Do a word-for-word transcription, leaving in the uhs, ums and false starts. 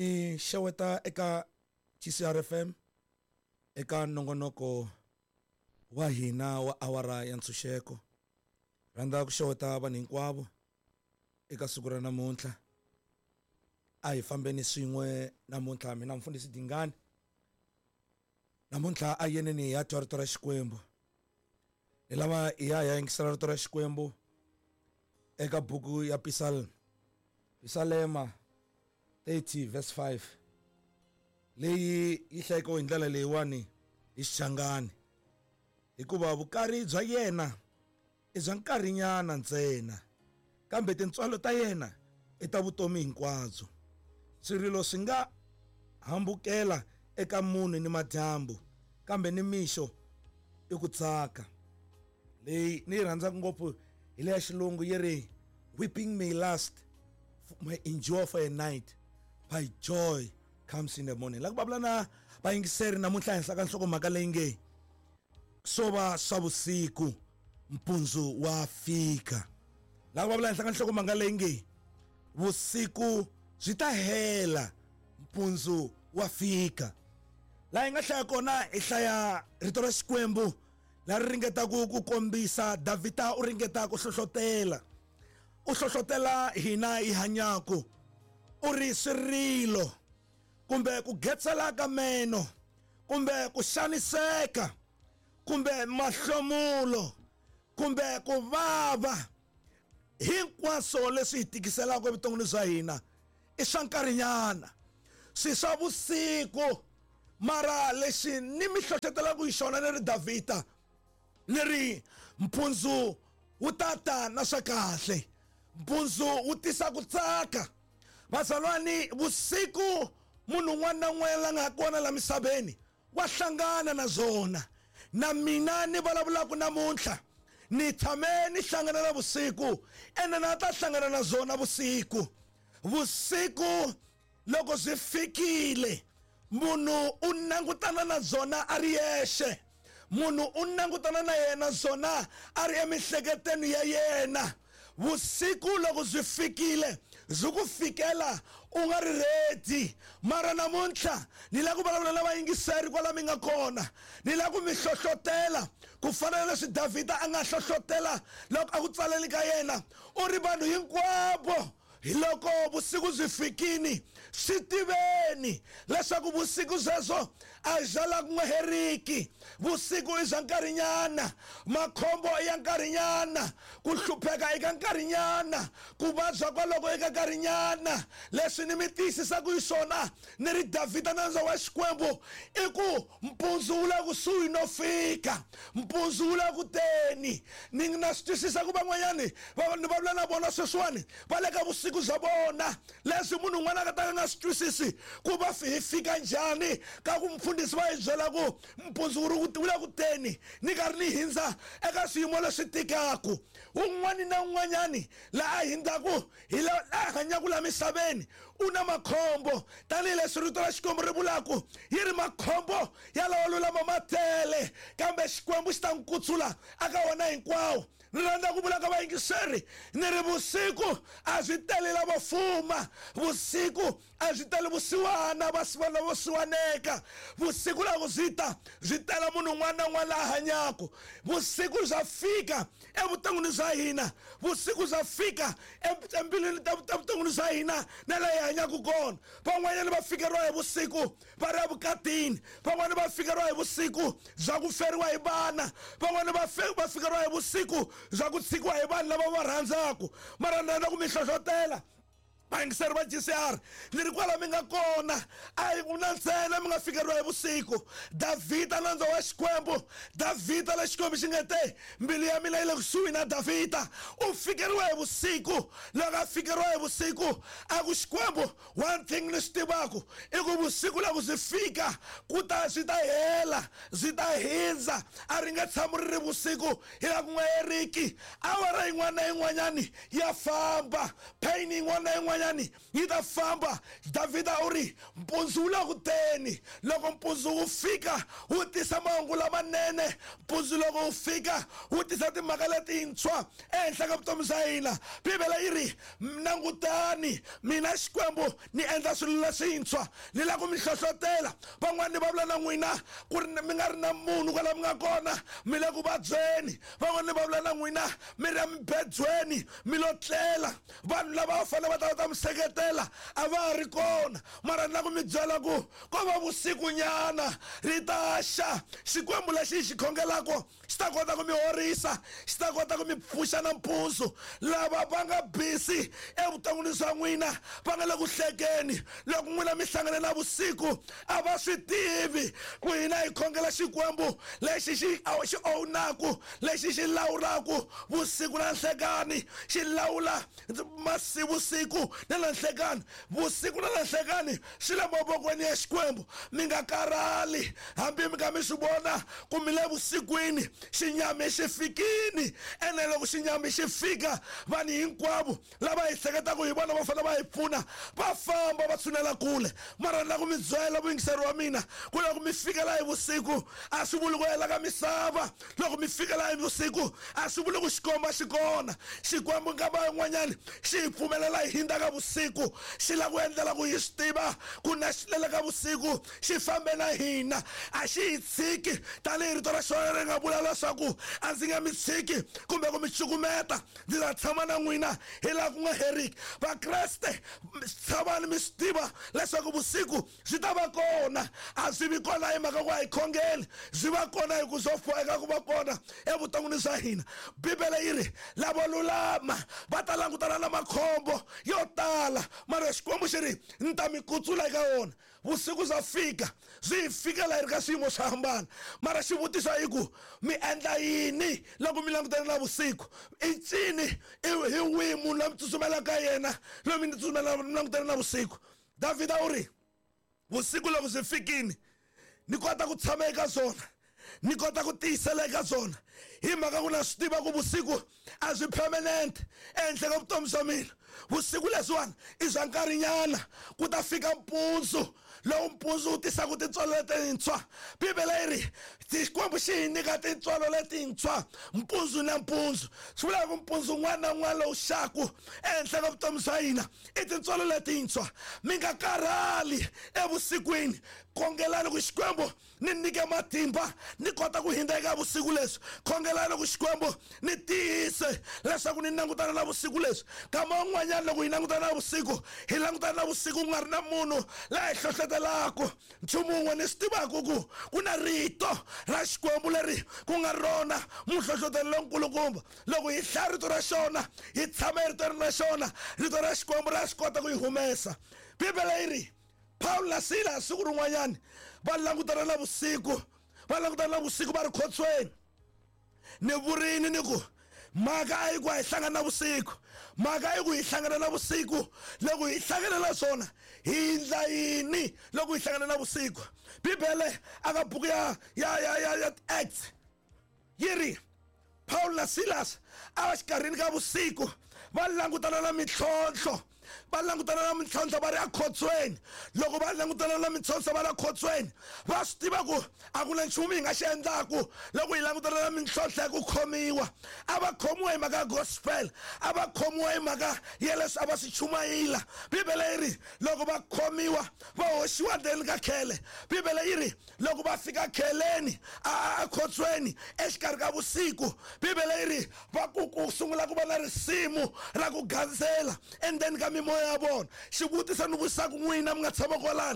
Ni xeweta eka G C R F M eka nongonoko wa hina wa awara ya ntshunxeko. Rhandza ku xeweta vanhu hinkwavo eka siku ra namuntlha. A hi fambeni swin'we namuntlha mina mfundhisi Dingani. Namuntlha a yeneni ya twa rito ra Xikwembu. Hi lava hi ya hi ya yingisela rito ra Xikwembu eka buku ya Pisal Pisalema thirty verse five leyi yi hlayeka hi ndlela leyiwani hi Xichangani, hikuva vukari bya yena i bya nkarhinyana ntsena, kambe tintswalo ta yena i ta vutomi hinkwabyo. Swirilo swi nga hambukela eka munhu ni madyambu, kambe ni mixo i ku tsaka. Leyi ni yi rhandzaka ngopfu hi leya xilungu yi ri weeping may last, may endure for a night, but joy comes in the morning. La ku vulavula na vayingiseri namuntlha henhla ka nhlokomhaka leyi nge swo va swa vusiku mpundzu wa fika. La ku vulavula henhla ka nhlokomhaka leyi nge vusiku byi ta hela mpundzu wa fika. Laha hi nga hlaya kona hi hlaya rito ra Xikwembu la ri ringetaka ku kombisa Davhida u ringeta ku hlohlotela, u hlohlotela hina hi hanyaka, u ri swirilo kumbe ku getsela ka meno kumbe ku xaniseka kumbe mahlomulo kumbe ku vava, hinkwaswo leswi hi tikiselaka evuton'wini bya hina i swa nkarhinyana, swi swa vusiku. Mara lexi ni mi hlohlotelaka hi xona ni ri Davhida ni ri mpundzu wu tata na swa kahle, mpundzu wu tisa ku tsaka. Bazalwani, vusiku munhu un'wana na un'wana la nga kona la misaveni wa hlangana na byona. Na mina ni vulavulaka namuntlha ni tshame ni hlangana na vusiku, ene na ta hlangana na byona vusiku. Vusiku loko byi fikile munhu u langutana na byona a ri yexe, munhu u langutana na yena byona a ri emiehleketweni ya yena. Vusiku loko byi fikile byi ku fikela u nga ri ready. Mara namuntlha ni lava ku vulavula na vayingiseri kwala mi nga kona, ni lava ku mi hlohlotela ku fana na leswi Davhida a nga hlohlotela loko a ku tsaleni ka yena, u ri vanhu hinkwavo hi loko vusiku byi fikini swi tiveni leswaku vusiku byebyo a bya la ku nga heriki. Vusiku i bya nkarhinyana, makhombo i ya nkarhinyana, ku hlupheka eka nkarhinyana, ku vabya kwaloko eka nkarhinyana. Leswi ni mi tiyisisaka hi swona ni ri Davhida nandza wa Xikwembu i ku mpundzu wu le kusuhi no fika, mpundzu wu le ku teni. Ni na swi twisisa ku van'wanyani va ni vulavula na vona sweswiwani va le ka vusiku bya vona, leswi munhu un'wana a nga ta ka nga swi twisisi ku va hi fika njhani ka ku mfundhisi va hi byela ku mpundzu wu ri wu le ku teni, ni karhi ni hindza eka swiyimo leswi tikaku. Un'wani na un'wanyani laha a hindzaku hi la a hanyaka la misaveni u na makhombo, tanihileswi rito ra Xikwembu ri vulaku yi ri makhombo ya lawa lulama ma tele, kambe Xikwembu xi ta n'wi kutsula aka wona hinkwawo. Ni rhandza ku vula ka vayingiseri ni ri vusiku a byi tele lavo fuma, vusiku a byi tele vusiwana va lavo siwaneka, vusiku loko byi ta byi tela munhu un'wana na un'wana la hanyaka. Vusiku bya fika evuton'wini bya hina, vusiku bya fika embilwini ta vuton'wini bya hina na laha hi hanyaka kona. Van'wanyana va fikeriwa hi vusiku va ri evukatini, van'wana va fikeriwa hi vusiku bya ku feriwa hi vana, van'wana va va fikeriwa hi vusiku bya ku tshikiwa hi vanhu lava va rhandzaka. Mara ni rhandza ku mi hlohlotela vayingiseri va G C R ni ri kwala mi nga kona, a hi na ntsena mi nga fikeriwa hi vusiku. Davhida nandza wa Xikwembu, Davhida la Xikwembu xi nga te mbilu ya mina yi le kusuhi na Davhida, u fikeriwa hi vusiku. Loko a fikeriwa hi vusiku a ku Xikwembu, one thing ni swi tivaku i ku vusiku loko byi fika ku ta swi ta hela, byi ta hindza, a ri nge tshami ri ri vusiku hi la ku nga heriki. Awara yin'wana na yin'wanyani ya famba, pain yin'wana na yin'wanyana yin'wanyani yi ta famba. Davhida u ri mpundzu wu le ku teni, loko mpundzu wu fika wu tisa mahungu lamanene, mpundzu loko wu fika wu tisa timhaka letintshwa ehenhla ka vutomi bya hina. Bibele yi ri langutani, mina Xikwembu ni endla swilo leswintshwa, ni lava ku mi hlohlotela. Van'wani va vula na n'wina ku ri mi nga ri na munhu kwala mi nga kona, mi le ku vabyeni. Van'wani va vula na n'wina mi ri emibedweni mi lo tlela, vanhu lava va fanele va ta va ta mi seketela a va ha ri kona. Mara ni lava ku mi byela ku ko va vusikunyana ri ta xa. Xikwembu lexi hi xi khongelaka xi ta kota ku mi horisa, xi ta kota ku mi pfuxa nampundzu. Lava va nga busy evuton'wini bya n'wina va nga le ku hlekeni, loko n'wina mi hlangane na vusiku a va swi tivi ku hina hi khongela Xikwembu lexi xi xi ownaku, lexi xi lawulaku vusiku na nhlekani, xi lawula masi vusiku na na nhlekani, vusiku na na nhlekani swi le mavokweni ya Xikwembu. Mi nga karhali hambi mi ka mi swi vona ku mi le vusikwini, xinyami xi fikini. Ene loko xinyami xi fika, vanhu hinkwavo lava hi hleketaka hi vona va fanele va hi pfuna va famba va tshunela kule. Mara ni lava ku mi byela vuyingiseri wa mina ku loko mi fikela hi vusiku a swi vuli ku hela ka misava, loko mi fikela hi vusiku a swi vuli ku xikomba xi kona. Xikwembu nkama yin'wanyani xi hi pfumelela hi hindza ka vusiku, xi lava ku endlela ku hi swi tiva ku na xi lele ka vusiku xi fambe na hina, a xi hi tshiki. Tanihi rito ra xona ri nga vula leswaku a ndzi nge mi tshiki kumbe ku mi cukumeta, ndzi ta tshama na n'wina hi laha ku nga heriki. Vakreste, tshamani mi swi tiva leswaku vusiku byi ta va kona, a byi vi kona hi mhaka ku a hi khongeli, byi va kona hi ku byo boheka ku va kona evuton'wini bya hina. Bibele yi ri lavo lulama va ta langutana na makhombo yo tala, mara Xikwembu xi ri ni ta mi kutsula eka wona. Vusiku bya fika, byi hi fikela hi ri ka swiyimo swo hambana, mara xivutiso i ku mi endla yini loko mi langutane na vusiku? I ncini, hi wihi munhu loyi mi tsutsumelaka yena loyi mi tsutsumela mi langutane na vusiku? Davhida u ri vusiku loko byi fikini ni kota ku tshama eka byona, ni kota ku tiyisela eka byona, hi mhaka ku na swi tiva ku vusiku a byi permanent ehenhla ka vutomi bya mina. Vusiku leswiwani i bya nkarhinyana, ku ta fika mpundzu lowu mpundzu wu tisaka tintswalo letintshwa. Bibele yi ri Xikwembu xi hi nyika tintswalo letintshwa mpundzu na mpundzu. Swi vula ku mpundzu wun'wana na wun'wana lowu xaku ehenhla ka vutomi bya hina i tintswalo letintshwa. Mi nga karhali evusikwini, khongelani ku Xikwembu ni nyike matimba ni kota ku hindza eka vusiku leswi. Khongelani ku Xikwembu ni tiyise leswaku ni langutana na vusiku leswi. Kama un'wanyana loko hi langutana na vusiku, hi langutana na vusiku ku nga ri na munhu laha hi hlohlotelaka. Nchumu wun'we ni swi tivaka ku ku na rito ra Xikwembu leri ku nga rona muhlohlotelo lonkulukumba. Loko hi hlaya rito ra xona, hi tshama eritweni ra xona, rito ra Xikwembu ra swi kota ku hi humesa. Bibele yi ri Pawulo na Sila siku rin'wanyani va langutana na vusiku, va langutana na vusiku va ri khotsweni. Ni vurini ni ku mhaka a yi ku a hi hlangana na vusiku, mhaka i ku hi hlangana na vusiku. Loko hi hlangana na swona hi endla yini loko hi hlangana na vusiku? Bibele aka buku ya ya ya ya ya Acts yi ri Pawulo na Silas a va xikarhini ka vusiku va langutana na mintlhontlho, va langutana na mintlhontlho va ri ekhotsweni. Loko va langutana na mintlhontlho va ri ekhotsweni, va swi tiva ku a ku na nchumu hi nga xi endlaku loko hi langutana na mintlhontlho ya ku khomiwa. A va khomiwa hi mhaka ya gospel, a va khomiwa hi mhaka ya leswi a va swi chumayela. Bibele yi ri loko va khomiwa va hoxiwa ndzeni ka khele. Bibele yi ri loko va fika kheleni a ekhotsweni exikarhi ka vusiku, Bibele yi ri va ku ku sungula ku va na risimu ra ku gandzela endzeni ka mimoya ya vona. Xivutiso ni vutisaka n'wina mi nga tshama kwalani,